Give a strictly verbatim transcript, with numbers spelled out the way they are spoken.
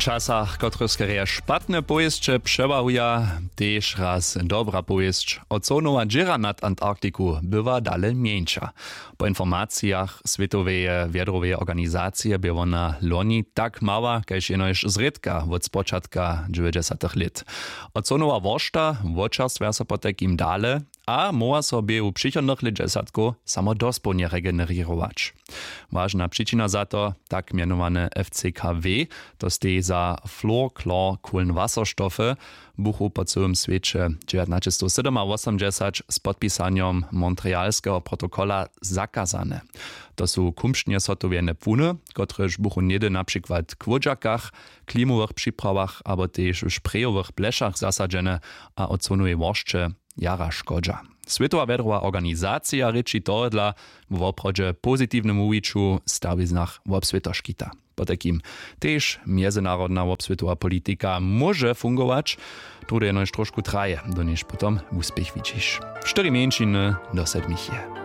Časach kotrychskerje špatne powěsće přewahuja, tež raz dobra powěsć. Ozonowa dźěra nad antarktiku była dale mjeńša. Po informacijach swětoweje wjedroweje organizacije bě wona loni tak mała kaž jenož zrědka wot spočatka dźewjećdźesatych lět. Ozonowa woršta wočerstwja so potajkim dale, a móhła so běhu přichodnych lětdźesatkow samo dospołnje regenerować. Wažna přičina za to, tak mjenowane fckw, to steji za florklor kohlenwasserstoffy, buchu po cyłym swěće dźewjatnaćestowsydomawosomdźesać z podpisanjom montrealskeho protokola zakazane. To su kumšćnje zhotowjene płuny, kotrež buchu něhdy na přikład k wódźakach, klimowych připrawow abo tež w šprejowych plešach zasadźene, a ozonowej woršće jara škodźa. Swětowa wjedrowa organizacija rěči tohodla wo woprawdźe pozitiwnym wuwiću w stawiznach wobswětoškita. Potajkim tež mjezynarodna wobswětowa politika móže fungować, tołde jenož trošku traje, do njež potom wuspěch widźiš. Štyri mjeńšiny do sedmich je.